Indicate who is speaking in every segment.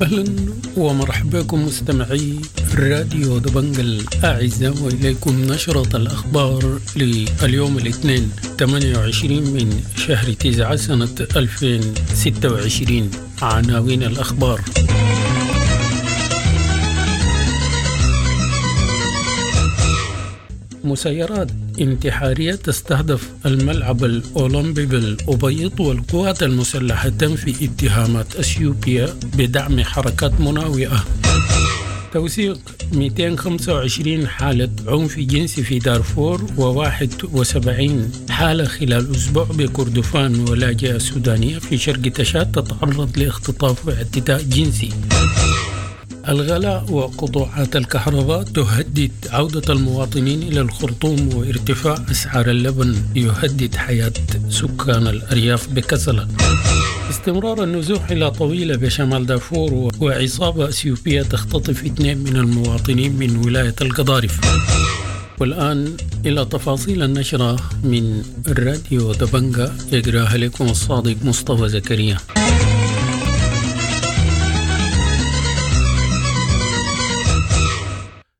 Speaker 1: اهلا ومرحبا بكم مستمعي راديو دبنج الاعزاء، واليكم نشرة الاخبار لليوم الاثنين 28 من شهر 9 سنة 2026. عناوين الاخبار: مسيرات انتحارية تستهدف الملعب الأولمبي بالأبيض، والقوات المسلحة تنفي اتهامات أثيوبيا بدعم حركات مناوئة. توثيق 225 حالة عنف جنسي في دارفور و71 حالة خلال أسبوع بكردفان، ولاجئة سودانية في شرق تشاد تتعرض لاختطاف واعتداء جنسي. الغلاء وقطوعات الكهرباء تهدد عودة المواطنين إلى الخرطوم، وارتفاع أسعار اللبن يهدد حياة سكان الأرياف بكسلة. استمرار النزوح إلى طويلة بشمال دارفور، وعصابة أثيوبية تختطف 2 من المواطنين من ولاية القضارف. والآن إلى تفاصيل النشرة من الراديو دبنجا، يقراها لكم الصادق مصطفى زكريا.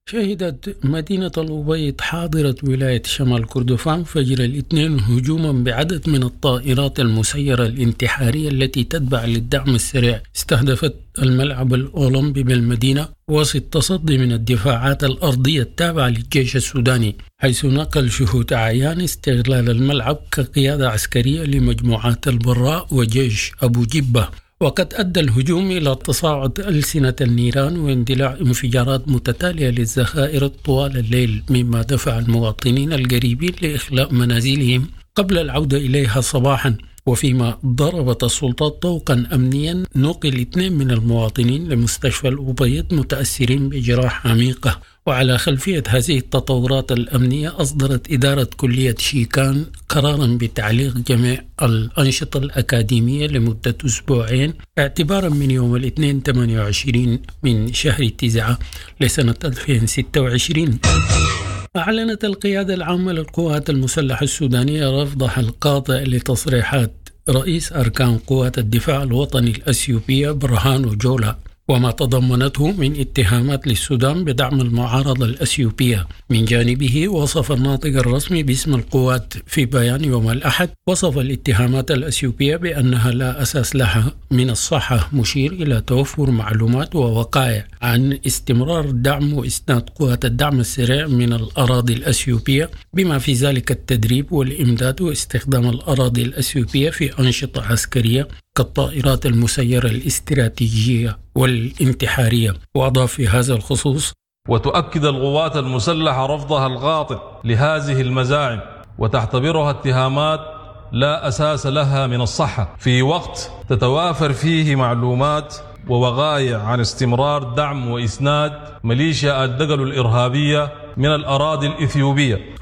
Speaker 1: شهدت مدينة الأبيض حاضرة ولاية شمال كردفان فجر الاثنين هجوما بعدد من الطائرات المسيرة الانتحارية التي تتبع للدعم السريع استهدفت الملعب الأولمبي بالمدينة وسط تصدي من الدفاعات الأرضية التابعة للجيش السوداني، حيث نقل شهود أعيان استغلال الملعب كقيادة عسكرية لمجموعات البراء وجيش أبو جبة. وقد أدى الهجوم إلى تصاعد ألسنة النيران واندلاع انفجارات متتالية للذخائر طوال الليل، مما دفع المواطنين القريبين لإخلاء منازلهم قبل العودة إليها صباحا. وفيما ضربت السلطات طوقا أمنيا نقل 2 من المواطنين لمستشفى الأبيض متأثرين بجراح عميقة. وعلى خلفية هذه التطورات الأمنية أصدرت إدارة كلية شيكان قرارا بتعليق جميع الأنشطة الأكاديمية لمدة أسبوعين اعتبارا من يوم الاثنين 28 من شهر 9 لسنة 2026. أعلنت القيادة العامة للقوات المسلحة السودانية رفضها القاطع لتصريحات رئيس أركان قوات الدفاع الوطني الأثيوبية برهانو جولا وما تضمنته من اتهامات للسودان بدعم المعارضة الأثيوبية. من جانبه وصف الناطق الرسمي باسم القوات في بيان يوم الأحد وصف الاتهامات الأثيوبية بأنها لا أساس لها من الصحة، مشير إلى توفر معلومات ووقائع عن استمرار دعم وإسناد قوات الدعم السريع من الأراضي الأثيوبية، بما في ذلك التدريب والإمداد واستخدام الأراضي الأثيوبية في أنشطة عسكرية كالطائرات المسيرة الاستراتيجية والانتحارية. وأضاف في هذا الخصوص:
Speaker 2: وتؤكد القوات المسلحة رفضها القاطع لهذه المزاعم وتعتبرها اتهامات لا أساس لها من الصحة، في وقت تتوافر فيه معلومات ووقائع عن استمرار دعم وإسناد ميليشيا الدقل الإرهابية من الأراضي الإثيوبية.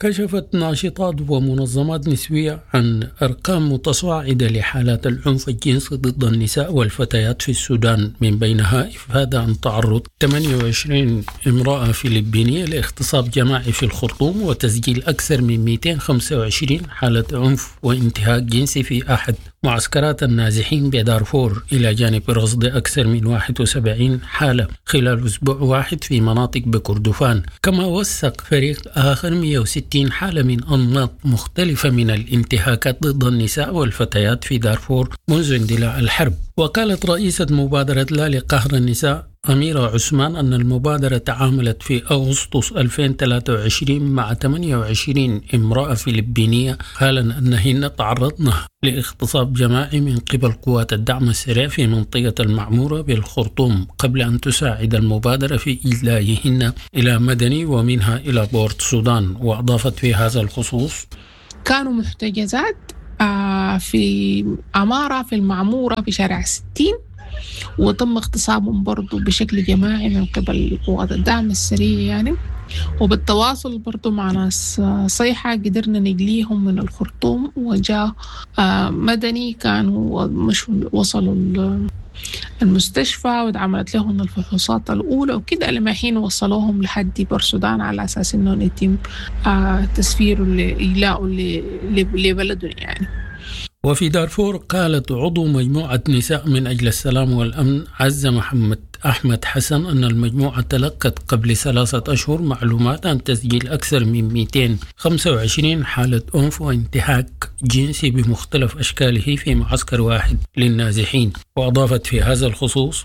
Speaker 1: كشفت ناشطات ومنظمات نسوية عن أرقام متصاعدة لحالات العنف الجنسي ضد النساء والفتيات في السودان، من بينها إفادة عن تعرض 28 امرأة فلبينية لاغتصاب جماعي في الخرطوم، وتسجيل أكثر من 225 حالة عنف وانتهاك جنسي في أحد معسكرات النازحين بدارفور، إلى جانب رصد أكثر من 71 حالة خلال أسبوع واحد في مناطق بكردفان. كما وثق فريق آخر 160 حالة من أنماط مختلفة من الانتهاكات ضد النساء والفتيات في دارفور منذ اندلاع الحرب. وقالت رئيسة مبادرة لا لقهر النساء أميرة عثمان أن المبادرة تعاملت في أغسطس 2023 مع 28 امرأة فلبينية قالن أنهن تعرضن لاغتصاب جماعي من قبل قوات الدعم السريع في منطقة المعمورة بالخرطوم، قبل أن تساعد المبادرة في إجلائهن إلى مدني ومنها إلى بورت سودان. وأضافت في هذا الخصوص:
Speaker 3: كانوا محتجزات في عمارة في المعمورة في شارع 60، وتم اغتصابهم برضو بشكل جماعي من قبل قوات الدعم السريع يعني. وبالتواصل برضو مع ناس صيحة قدرنا نجليهم من الخرطوم، وجاء مدني كانوا مش وصلوا المستشفى واتعملت لهم الفحوصات الأولى وكده، لما حين وصلوهم لحد بورسودان على أساس إنه يتم تسفيره لإجلاءه لبلده يعني.
Speaker 1: وفي دارفور، قالت عضو مجموعة نساء من أجل السلام والأمن عزة محمد أحمد حسن أن المجموعة تلقت قبل 3 أشهر معلومات عن تسجيل أكثر من 225 حالة عنف وانتهاك جنسي بمختلف أشكاله في معسكر واحد للنازحين. وأضافت في هذا الخصوص: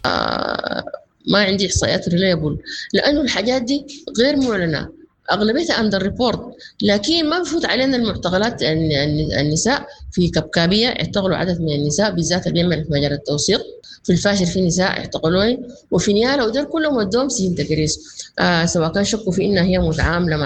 Speaker 4: ما عندي احصائيات reliable، لانه الحاجات دي غير معلنه، اغلبيتها under report. لكن ما بفوت علينا المعتقلات النساء. في كبكابيه اعتقلوا عدد من النساء، بالذات اللي بيعملوا في مجال التوثيق. في الفاشر في نساء اعتقلوهن، وفي نيالا، ودول كلهم ودوهم سجن تكريس، سواء كان شكوا في انها هي متعامله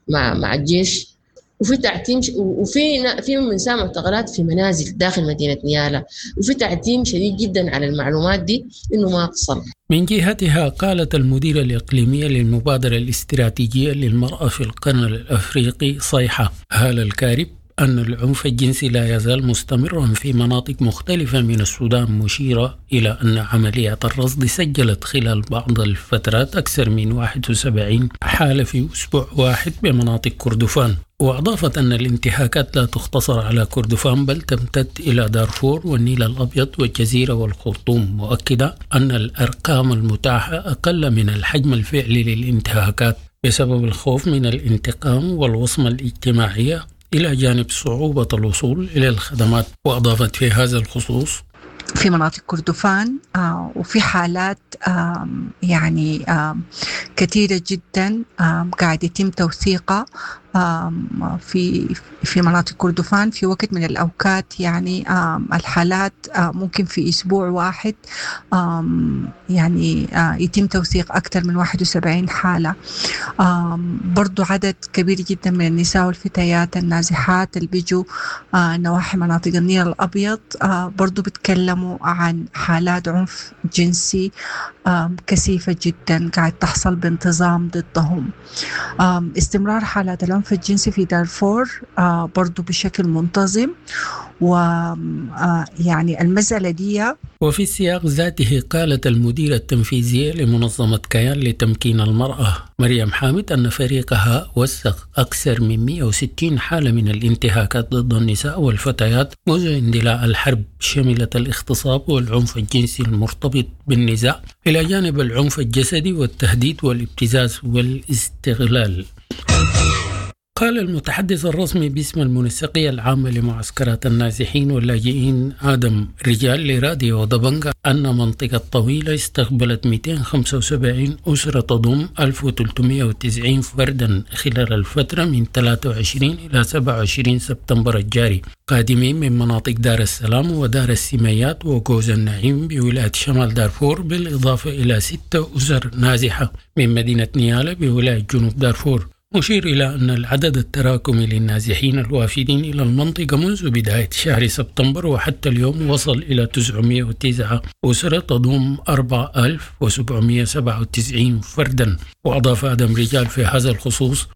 Speaker 4: مع الجيش. وفي تعتيم، وفي في نساء معتقلات في منازل داخل مدينة نيالا، وفي تعتيم شديد جدا على المعلومات دي انه ما تصل.
Speaker 1: من جهتها، قالت المديرة الإقليمية للمبادرة الاستراتيجية للمرأة في القرن الأفريقي صيحة هالة الكارب أن العنف الجنسي لا يزال مستمرا في مناطق مختلفة من السودان، مشيرة إلى أن عمليات الرصد سجلت خلال بعض الفترات أكثر من 71 حالة في أسبوع واحد بمناطق كردفان. وأضافت أن الانتهاكات لا تقتصر على كردفان، بل تمتد إلى دارفور والنيل الأبيض والجزيرة والخرطوم، مؤكدة أن الأرقام المتاحة أقل من الحجم الفعلي للانتهاكات بسبب الخوف من الانتقام والوصمة الاجتماعية، إلى جانب صعوبة الوصول إلى الخدمات. وأضافت في هذا الخصوص:
Speaker 5: في مناطق كردفان وفي حالات يعني كثيرة جدا قاعد يتم توثيقها في مناطق كردفان. في وقت من الأوقات يعني الحالات ممكن في أسبوع واحد يعني يتم توثيق أكثر من 71 حالة. برضو عدد كبير جدا من النساء والفتيات النازحات اللي بيجوا نواحي مناطق النيل الأبيض برضو بيتكلموا عن حالات عنف جنسي كثيفة جدا قاعد تحصل بانتظام ضدهم. استمرار حالات العنف الجنسي في دارفور برضو بشكل منتظم، ويعني المسألة دي
Speaker 1: وفي السياق ذاته، قالت المديرة التنفيذية لمنظمة كيان لتمكين المرأة مريم حامد أن فريقها وثق أكثر من 160 حالة من الانتهاكات ضد النساء والفتيات منذ اندلاع الحرب، شملت الاغتصاب والعنف الجنسي المرتبط بالنزاع، إلى جانب العنف الجسدي والتهديد والابتزاز والاستغلال. قال المتحدث الرسمي باسم المنسقية العامة لمعسكرات النازحين واللاجئين آدم رجال لراديو دبنقا أن منطقة طويلة استقبلت 275 أسرة تضم 1390 فردا خلال الفترة من 23 إلى 27 سبتمبر الجاري، قادمين من مناطق دار السلام ودار السميات وقوز النعيم بولاية شمال دارفور، بالإضافة إلى 6 أسر نازحة من مدينة نيالا بولاية جنوب دارفور، مشير إلى أن العدد التراكمي للنازحين الوافدين إلى المنطقة منذ بداية شهر سبتمبر وحتى اليوم وصل إلى 909 أسرة تضم 4797 فردا. وأضاف آدم رجال في هذا الخصوص: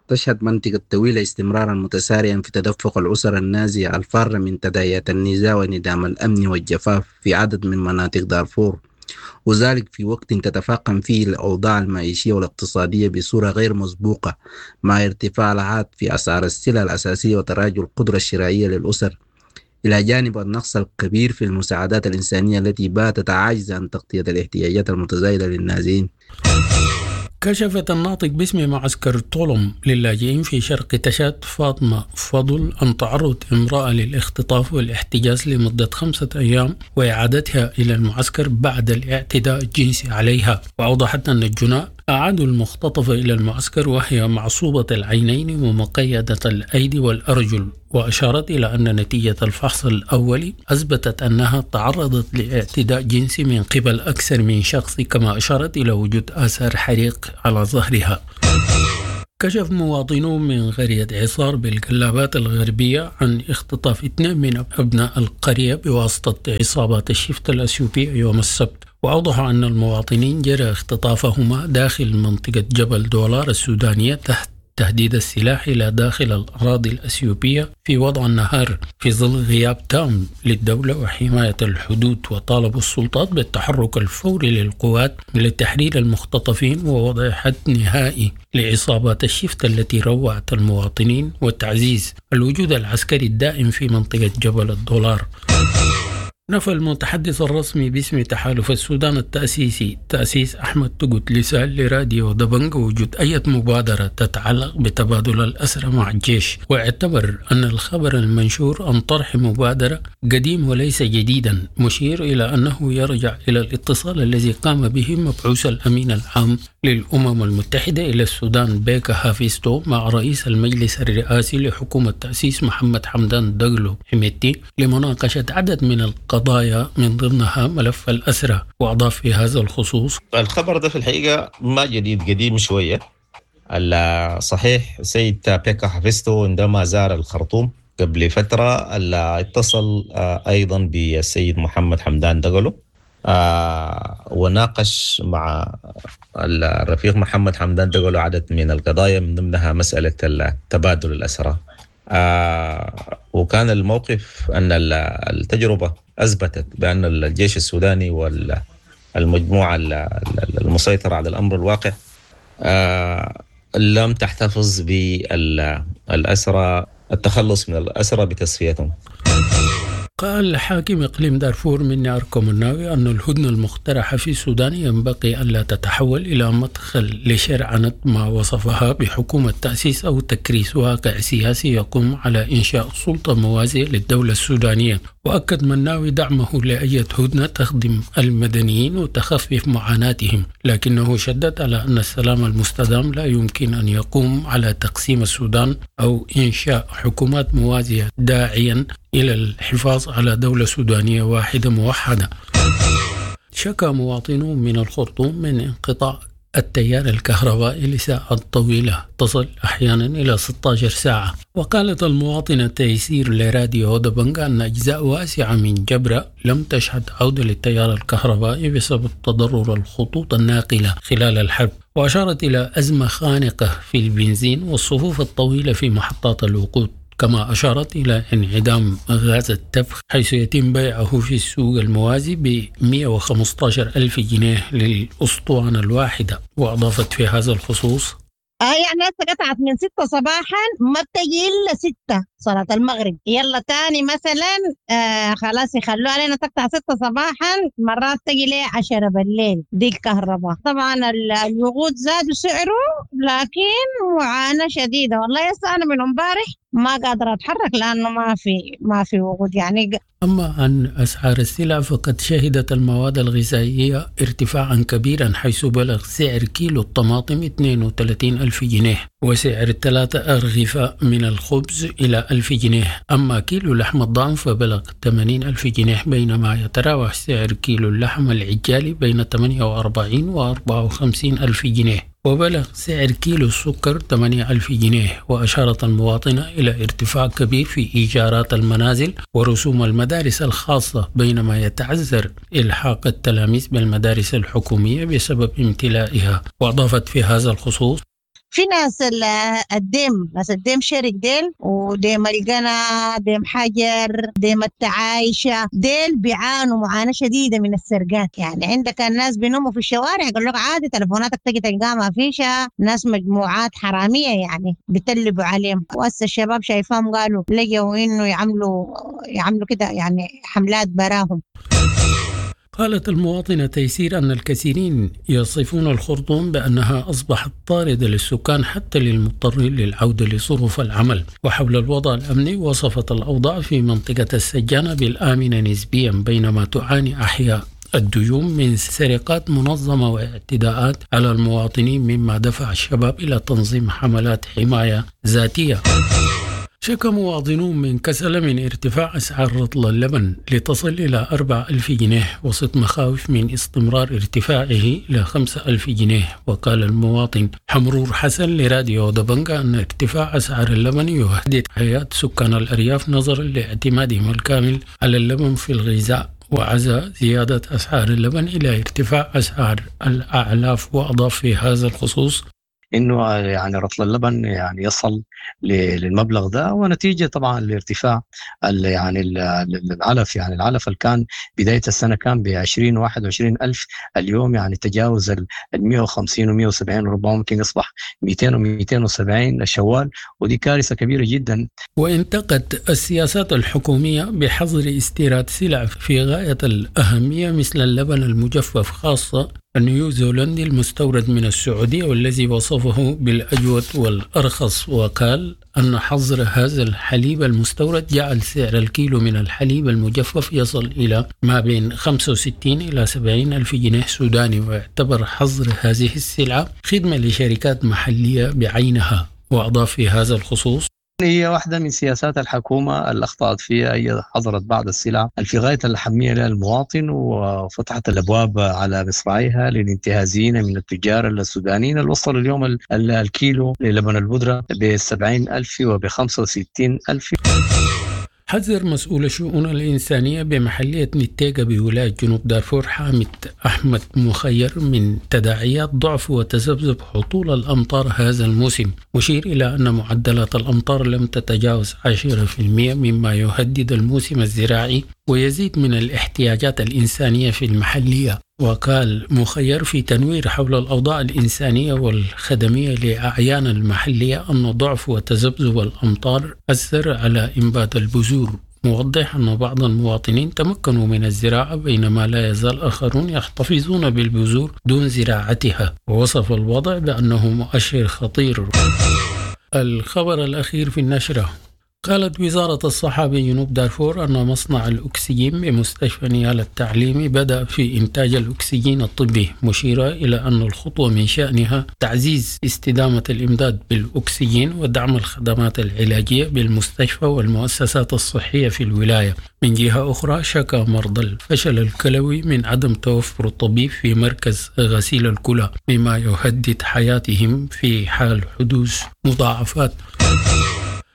Speaker 6: تشهد منطقة طويلة استمرارا متسارعا في تدفق الأسر النازحة الفارة من تداعيات النزاع وانعدام الأمن والجفاف في عدد من مناطق دارفور، وذلك في وقت تتفاقم فيه الأوضاع المعيشية والاقتصادية بصورة غير مسبوقة، مع ارتفاع الحاد في أسعار السلع الأساسية وتراجع القدرة الشرائية للأسر، إلى جانب النقص الكبير في المساعدات الإنسانية التي باتت عاجزة عن تغطية الاحتياجات المتزايدة للنازحين.
Speaker 1: كشفت الناطق باسم معسكر طولم للاجئين في شرق تشاد فاطمة فضل عن تعرض امرأة للاختطاف والاحتجاز لمدة 5 أيام وإعادتها إلى المعسكر بعد الاعتداء الجنسي عليها. وأوضحت أن الجناة أعادوا المختطفة إلى المعسكر وهي معصوبة العينين ومقيدة الأيدي والأرجل. وأشارت إلى أن نتيجة الفحص الأولي أثبتت أنها تعرضت لاعتداء جنسي من قبل أكثر من شخص، كما أشارت إلى وجود آثار حريق على ظهرها. كشف مواطنون من قرية عصار بالقلابات الغربية عن اختطاف اثنين من أبناء القرية بواسطة عصابات الشفتة الأثيوبية يوم السبت. وأوضحوا أن المواطنين جرى اختطافهما داخل منطقة جبل دولار السودانية تحت تهديد السلاح إلى داخل الأراضي الأثيوبية في وضع النهار في ظل غياب تام للدولة وحماية الحدود. وطالبوا السلطات بالتحرك الفوري للقوات لتحرير المختطفين ووضع حد نهائي لعصابات الشفت التي روعت المواطنين وتعزيز الوجود العسكري الدائم في منطقة جبل الدولار. نفى المتحدث الرسمي باسم تحالف السودان التأسيسي تأسيس أحمد تقوت لسان لراديو دبنج وجود أي مبادرة تتعلق بتبادل الأسرى مع الجيش، واعتبر أن الخبر المنشور عن طرح مبادرة قديم وليس جديدا، مشير إلى أنه يرجع إلى الاتصال الذي قام به مبعوث الأمين العام للأمم المتحدة إلى السودان بيكا هافيستو مع رئيس المجلس الرئاسي لحكومة تأسيس محمد حمدان دقلو حميدتي لمناقشة عدد من القضايا من ضمنها ملف الأسرى. وأضاف في هذا الخصوص:
Speaker 7: الخبر ده في الحقيقة ما جديد، قديم شوية. صحيح سيد بيكا هافيستو عندما زار الخرطوم قبل فترة اتصل أيضا بالسيد محمد حمدان دقلو وناقش مع الرفيق محمد حمدان دقلو عدد من القضايا من ضمنها مسألة تبادل الأسرى. وكان الموقف أن التجربة أثبتت بأن الجيش السوداني والمجموعة المسيطرة على الأمر الواقع لم تحتفظ بالأسرى، التخلص من الأسرى بتصفيتهم.
Speaker 1: قال حاكم إقليم دارفور مني أركو مناوي أن الهدنة المقترحة في السودان ينبغي ألا تتحول إلى مدخل لشرعنة ما وصفها بحكومة تأسيس أو تكريس واقع سياسي يقوم على إنشاء سلطة موازية للدولة السودانية. وأكد مناوي دعمه لأي هدنة تخدم المدنيين وتخفف معاناتهم، لكنه شدد على أن السلام المستدام لا يمكن أن يقوم على تقسيم السودان أو إنشاء حكومات موازية، داعيا إلى الحفاظ على دولة سودانية واحدة موحدة. شكى مواطنون من الخرطوم من انقطاع التيار الكهربائي لساعات طويلة تصل أحيانا إلى 16 ساعة. وقالت المواطنة تيسير لراديو دبنجا أن أجزاء واسعة من جبرة لم تشهد عودة للتيار الكهربائي بسبب تضرر الخطوط الناقلة خلال الحرب، وأشارت إلى أزمة خانقة في البنزين والصفوف الطويلة في محطات الوقود، كما أشارت إلى انعدام غاز التبخ حيث يتم بيعه في السوق الموازي ب 115 ألف جنيه للأسطوانة الواحدة. وأضافت في هذا الخصوص:
Speaker 8: يعني هسه قطعت من 6 صباحا ما بتجي إلا 6 صلاة المغرب، يلا تاني مثلا خلاص يخلوها علينا تقطع 6 صباحا، مرات تجي ليه 10 بالليل دي الكهرباء. طبعا الوقود زادوا سعره، لكن معاناة شديدة والله. هسه أنا من امبارح ما قادرة أتحرك لأنه ما في وقود يعني.
Speaker 1: أما عن أسعار السلع فقد شهدت المواد الغذائية ارتفاعا كبيرا، حيث بلغ سعر كيلو الطماطم 32 ألف جنيه، وسعر 3 أرغفة من الخبز إلى 1000 جنيه. أما كيلو لحم الضأن فبلغ 80 ألف جنيه، بينما يتراوح سعر كيلو اللحم العجالي بين 48 و 54 ألف جنيه، وبلغ سعر كيلو السكر 8 ألف جنيه. وأشارت المواطنة إلى ارتفاع كبير في إيجارات المنازل ورسوم المدارس الخاصة، بينما يتعذر إلحاق التلاميذ بالمدارس الحكومية بسبب امتلائها. وأضافت في هذا الخصوص:
Speaker 8: في ناس الديم، ناس الديم شرق ديل، وديم القنا، ديم حجر، ديم التعايشة، ديل بيعانوا معاناة شديدة من السرقات. يعني عندك الناس بينوموا في الشوارع، يقول لك عادي تلفوناتك تجي تلقاها ما فيش، ناس مجموعات حرامية يعني بتلبوا عليهم. وهسه الشباب شايفاهم قالوا لقوا إنه يعملوا كده يعني حملات براهم.
Speaker 1: قالت المواطنة تيسير أن الكثيرين يصفون الخرطوم بأنها أصبحت طاردة للسكان حتى للمضطرين للعودة لظروف العمل. وحول الوضع الأمني وصفت الأوضاع في منطقة السجانة بالآمنة نسبيا، بينما تعاني أحياء الديوم من سرقات منظمة واعتداءات على المواطنين، مما دفع الشباب إلى تنظيم حملات حماية ذاتية. شكى مواطنون من كسل من ارتفاع أسعار رطل اللبن لتصل إلى 4000 جنيه، وسط مخاوف من استمرار ارتفاعه إلى 5000 جنيه. وقال المواطن حمرور حسن لراديو دبنجا أن ارتفاع أسعار اللبن يهدد حياة سكان الأرياف نظرا لاعتمادهم الكامل على اللبن في الغذاء، وعزى زيادة أسعار اللبن إلى ارتفاع أسعار الأعلاف. وأضاف في هذا الخصوص:
Speaker 9: انه يعني رطل اللبن يعني يصل للمبلغ ده، ونتيجة طبعا لارتفاع يعني العلف، يعني العلف اللي كان بداية السنة كان ب 20 21 الف، اليوم يعني تجاوز ال 150 و 170، وربما ممكن يصبح 200 و 270 شوال، ودي كارثة كبيرة جدا.
Speaker 1: وانتقد السياسات الحكومية بحظر استيراد سلع في غاية الأهمية مثل اللبن المجفف، خاصة النيوزيلندي المستورد من السعودية والذي وصفه بالأجود والأرخص، وقال أن حظر هذا الحليب المستورد جعل سعر الكيلو من الحليب المجفف يصل إلى ما بين 65 إلى 70 ألف جنيه سوداني، واعتبر حظر هذه السلعة خدمة لشركات محلية بعينها. وأضاف في هذا الخصوص:
Speaker 9: هي واحدة من سياسات الحكومة اللي أخطأت فيها، هي حظرت بعض السلع في غاية الأهمية للمواطن، وفتحت الأبواب على مصراعيها للانتهازيين من التجار السودانيين اللي وصلوا اليوم الكيلو للبن البودرة ب70 ألف وب65 ألف.
Speaker 1: حذر مسؤول الشؤون الإنسانية بمحلية نتيجة بولاية جنوب دارفور حامد أحمد مخير من تداعيات ضعف وتذبذب هطول الأمطار هذا الموسم، مشير إلى أن معدلات الأمطار لم تتجاوز 10% مما يهدد الموسم الزراعي ويزيد من الاحتياجات الإنسانية في المحلية. وقال مخير في تنوير حول الأوضاع الإنسانية والخدمية لأعيان المحلية أن ضعف وتذبذب الأمطار أثر على إنبات البذور، موضح أن بعض المواطنين تمكنوا من الزراعة بينما لا يزال آخرون يحتفظون بالبذور دون زراعتها، ووصف الوضع بأنه مؤشر خطير. الخبر الأخير في النشرة: قالت وزارة الصحة بجنوب دارفور أن مصنع الأكسجين بمستشفى نيالا التعليمي بدأ في إنتاج الأكسجين الطبي، مشيرة إلى أن الخطوة من شأنها تعزيز استدامة الإمداد بالأكسجين ودعم الخدمات العلاجية بالمستشفى والمؤسسات الصحية في الولاية. من جهة أخرى، شكا مرضى الفشل الكلوي من عدم توفر الطبيب في مركز غسيل الكلى، مما يهدد حياتهم في حال حدوث مضاعفات.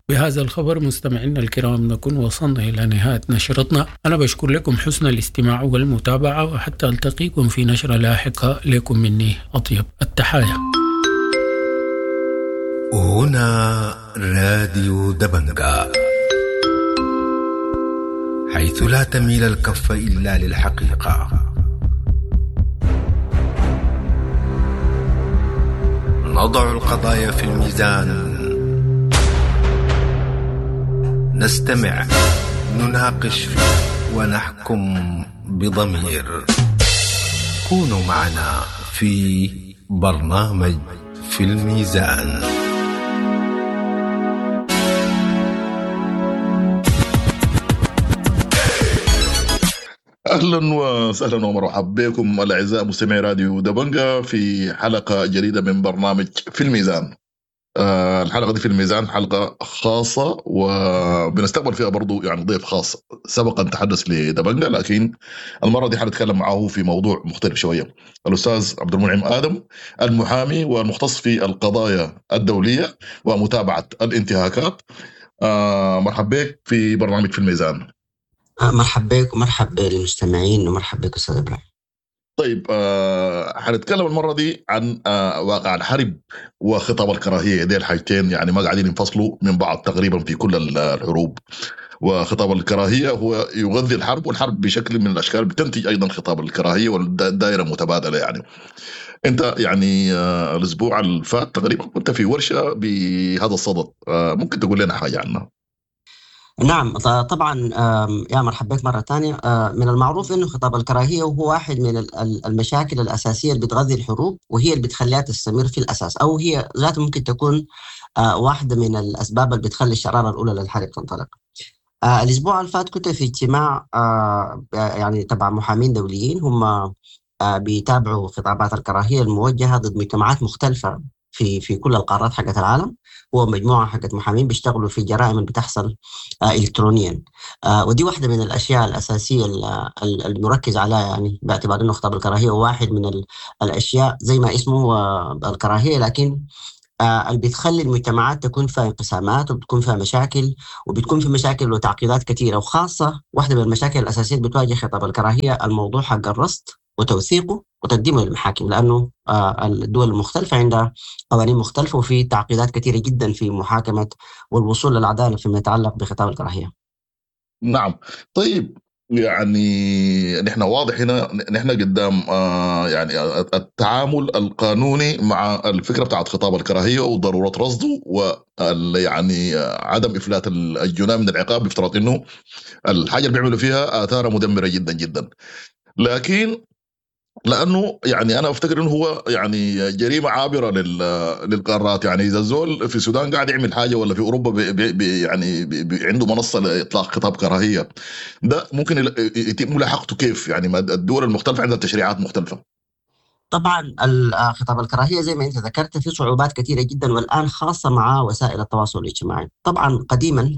Speaker 1: بهذا الخبر مستمعينا الكرام نكون وصلنا إلى نهاية نشرتنا. أنا بشكر لكم حسن الاستماع والمتابعة، وحتى ألتقيكم في نشرة لاحقة لكم مني أطيب التحايا.
Speaker 10: هنا راديو دبنقا، حيث لا تميل الكف إلا للحقيقة. نضع القضايا في الميزان، نستمع، نناقش، ونحكم بضمير. كونوا معنا في برنامج في الميزان.
Speaker 11: اهلا وسهلا ومرحبا بكم الاعزاء مستمعي راديو دبنجا في حلقة جديدة من برنامج في الميزان. الحلقة دي في الميزان حلقة خاصة، وبنستقبل فيها برضو يعني ضيف خاص سبق ان تحدث لدبنجا، لكن المرة دي حنتكلم معه في موضوع مختلف شوية. الاستاذ عبد المنعم ادم، المحامي والمختص في القضايا الدولية ومتابعة الانتهاكات. مرحبا بك في برنامج في الميزان.
Speaker 12: مرحبا بك ومرحب بالمستمعين ومرحبا بك استاذ ابراهيم.
Speaker 11: طيب، حنتكلم المرة دي عن واقع الحرب وخطاب الكراهية. دي الحاجتين يعني ما قاعدين ينفصلوا من بعض تقريبا في كل الحروب، وخطاب الكراهية هو يغذي الحرب، والحرب بشكل من الأشكال بتنتج أيضا خطاب الكراهية، والدائرة متبادلة. يعني أنت يعني الأسبوع اللي فات تقريبا كنت في ورشة بهذا الصدد، ممكن تقول لنا حاجة عنها؟
Speaker 12: نعم طبعا، يا مرحبا بك مرة ثانية. من المعروف أنه خطاب الكراهية هو واحد من المشاكل الأساسية اللي بتغذي الحروب، وهي اللي بتخليها تستمر في الأساس، أو هي ذاتها ممكن تكون واحدة من الأسباب اللي بتخلي الشرارة الأولى للحرب تنطلق. الأسبوع اللي فات كنت في اجتماع يعني تبع محامين دوليين، هم بيتابعوا خطابات الكراهية الموجهة ضد مجتمعات مختلفة في كل القارات حقت العالم. هو مجموعة حقت محامين بيشتغلوا في جرائم اللي بتحصل الكترونيا، ودي واحدة من الاشياء الاساسية المركز عليها، يعني باعتبار انه خطاب الكراهية هو واحد من الاشياء زي ما اسمه هو الكراهيه، لكن اللي بتخلي المجتمعات تكون فيها انقسامات وبتكون فيها مشاكل، وبتكون في مشاكل وتعقيدات كثيرة، وخاصة واحدة من المشاكل الاساسية اللي بتواجه خطاب الكراهية الموضوع حق الرصد. وتوثيقه وتقديمه للمحاكم، لأنه الدول المختلفة عندها قوانين مختلفة وفي تعقيدات كثيرة جدا في محاكمة والوصول للعدالة فيما يتعلق بخطاب الكراهية.
Speaker 11: نعم. طيب يعني نحن واضح هنا نحن قدام يعني التعامل القانوني مع الفكرة بتاعت خطاب الكراهية وضرورة رصده يعني عدم افلات الجناه من العقاب، بافتراض انه الحاجة اللي بيعملوا فيها اثارها مدمرة جدا جدا. لكن لانه يعني انا افتكر انه هو يعني جريمة عابرة للقارات. يعني اذا الزول في السودان قاعد يعمل حاجة ولا في اوروبا بي بي يعني بي عنده منصة لاطلاق خطاب كراهية، ده ممكن يتم ملاحقته كيف؟ يعني الدول المختلفة عندها تشريعات مختلفة.
Speaker 12: طبعا خطاب الكراهية زي ما انت ذكرت في صعوبات كثيرة جدا، والان خاصة مع وسائل التواصل الاجتماعي. طبعا قديما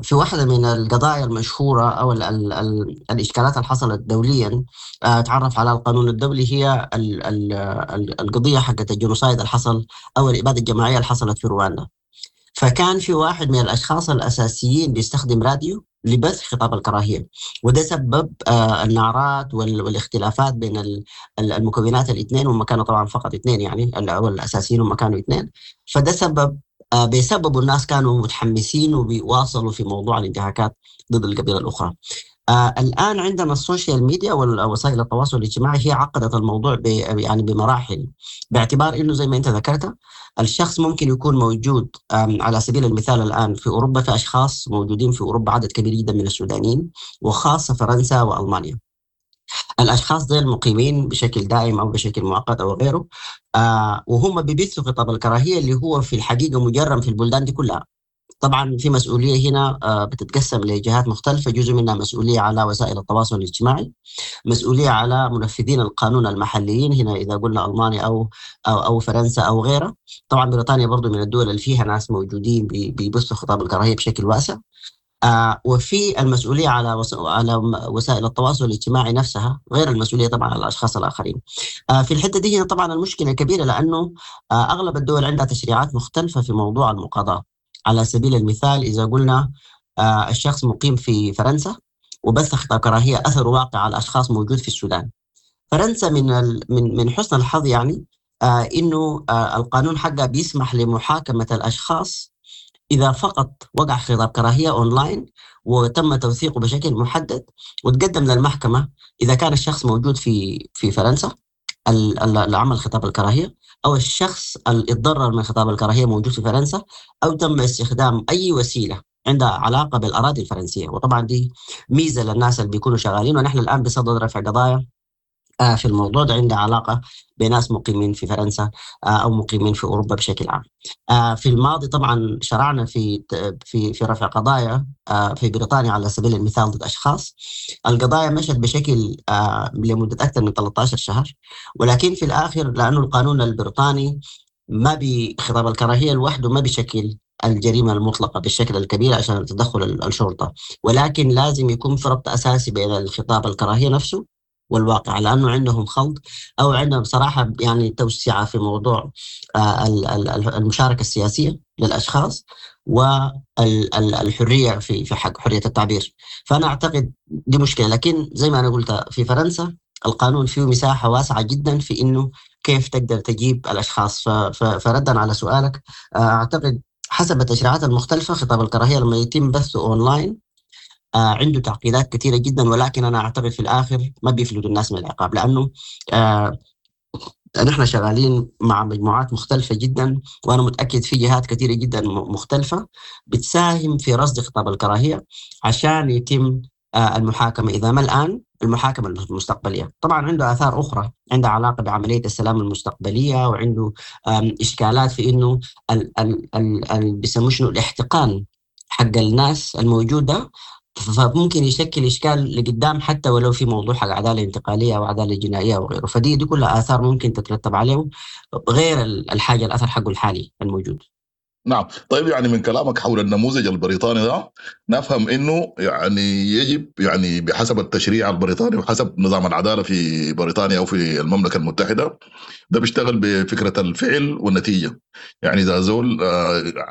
Speaker 12: في واحدة من القضايا المشهورة او ال ال ال الاشكالات اللي حصلت دوليا تعرف على القانون الدولي، هي ال ال ال القضية حقت ال genocide اللي حصل او الابادة الجماعية اللي حصلت في رواندا. فكان في واحد من الاشخاص الاساسيين بيستخدم راديو لبث خطاب الكراهية، وده سبب النعرات والاختلافات بين المكونات الاثنين، وهم كانوا طبعا فقط اثنين يعني الاساسيين هم كانوا اثنين. فده سبب بسببه الناس كانوا متحمسين وبيواصلوا في موضوع الانتهاكات ضد القبيلة الاخرى. الان عندنا ال social media ووسائل التواصل الاجتماعي هي عقدت الموضوع يعني بمراحل، باعتبار انه زي ما انت ذكرت الشخص ممكن يكون موجود على سبيل المثال الان في اوروبا، في اشخاص موجودين في اوروبا عدد كبير جدا من السودانيين، وخاصة فرنسا والمانيا. الاشخاص ديل مقيمين بشكل دائم او بشكل مؤقت او غيره، وهم بيبثوا خطاب الكراهية اللي هو في الحقيقة مجرم في البلدان دي كلها. طبعا في مسؤولية هنا بتتقسم لجهات مختلفة، جزء منها مسؤولية على وسائل التواصل الاجتماعي، مسؤولية على منفذين القانون المحليين هنا اذا قلنا المانيا او او او فرنسا او غيرها. طبعا بريطانيا برضو من الدول اللي فيها ناس موجودين بيبثوا خطاب الكراهية بشكل واسع. وفي المسؤولية على على وسائل التواصل الاجتماعي نفسها، غير المسؤولية طبعا على الاشخاص الاخرين. في الحتة دي هنا طبعا المشكلة كبيرة، لانه اغلب الدول عندها تشريعات مختلفة في موضوع المقاضاه. على سبيل المثال اذا قلنا الشخص مقيم في فرنسا وبث خطاب كراهية اثر واقع على اشخاص موجود في السودان. فرنسا من حسن الحظ يعني انه القانون حقها بيسمح لمحاكمه الاشخاص اذا فقط وقع خطاب كراهية اونلاين وتم توثيقه بشكل محدد وتقدم للمحكمة اذا كان الشخص موجود في فرنسا اللي عمل خطاب الكراهية، او الشخص اللي اتضرر من خطاب الكراهية موجود في فرنسا، او تم استخدام اي وسيلة عندها علاقة بالاراضي الفرنسية. وطبعا دي ميزة للناس اللي بيكونوا شغالين، ونحن الان بصدد رفع قضايا في الموضوع ده عندها علاقة بناس مقيمين في فرنسا او مقيمين في اوروبا بشكل عام. في الماضي طبعا شرعنا في في في رفع قضايا في بريطانيا على سبيل المثال ضد اشخاص. القضايا مشت بشكل لمدة اكثر من 13 شهر، ولكن في الاخر لانه القانون البريطاني ما بخطاب الكراهية لوحده ما بشكل الجريمة المطلقة بالشكل الكبير عشان تدخل الشرطة، ولكن لازم يكون في ربط اساسي بين الخطاب الكراهية نفسه والواقع، لانه عندهم خلط او عندهم صراحة يعني توسعه في موضوع المشاركة السياسية للاشخاص والحرية في حق حرية التعبير. فانا اعتقد دي مشكلة، لكن زي ما انا قلت في فرنسا القانون فيه مساحة واسعة جدا في انه كيف تقدر تجيب الاشخاص. فردا على سؤالك، اعتقد حسب التشريعات المختلفة خطاب الكراهية لما يتم بثه اونلاين عنده تعقيدات كثيرة جدا، ولكن انا اعتقد في الاخر ما بيفلتوا الناس من العقاب، لانه نحن شغالين مع مجموعات مختلفة جدا، وانا متاكد في جهات كثيرة جدا مختلفة بتساهم في رصد خطاب الكراهية عشان يتم المحاكمة، اذا ما الان المحاكمة المستقبلية. طبعا عنده اثار اخرى عندها علاقة بعملية السلام المستقبلية، وعنده اشكالات في انه بيسموه شنو الاحتقان حق الناس الموجودة، فممكن يشكل اشكال لقدام حتى ولو في موضوع حق عدالة انتقالية او عدالة جنائية وغيره. فدي دي كلها اثار ممكن تترتب عليه غير الحاجة الاثر حقه الحالي الموجود.
Speaker 11: نعم. طيب يعني من كلامك حول النموذج البريطاني ده نفهم انه يعني يجب يعني بحسب التشريع البريطاني وحسب نظام العدالة في بريطانيا او في المملكة المتحدة، ده بيشتغل بفكره الفعل والنتيجة. يعني اذا زول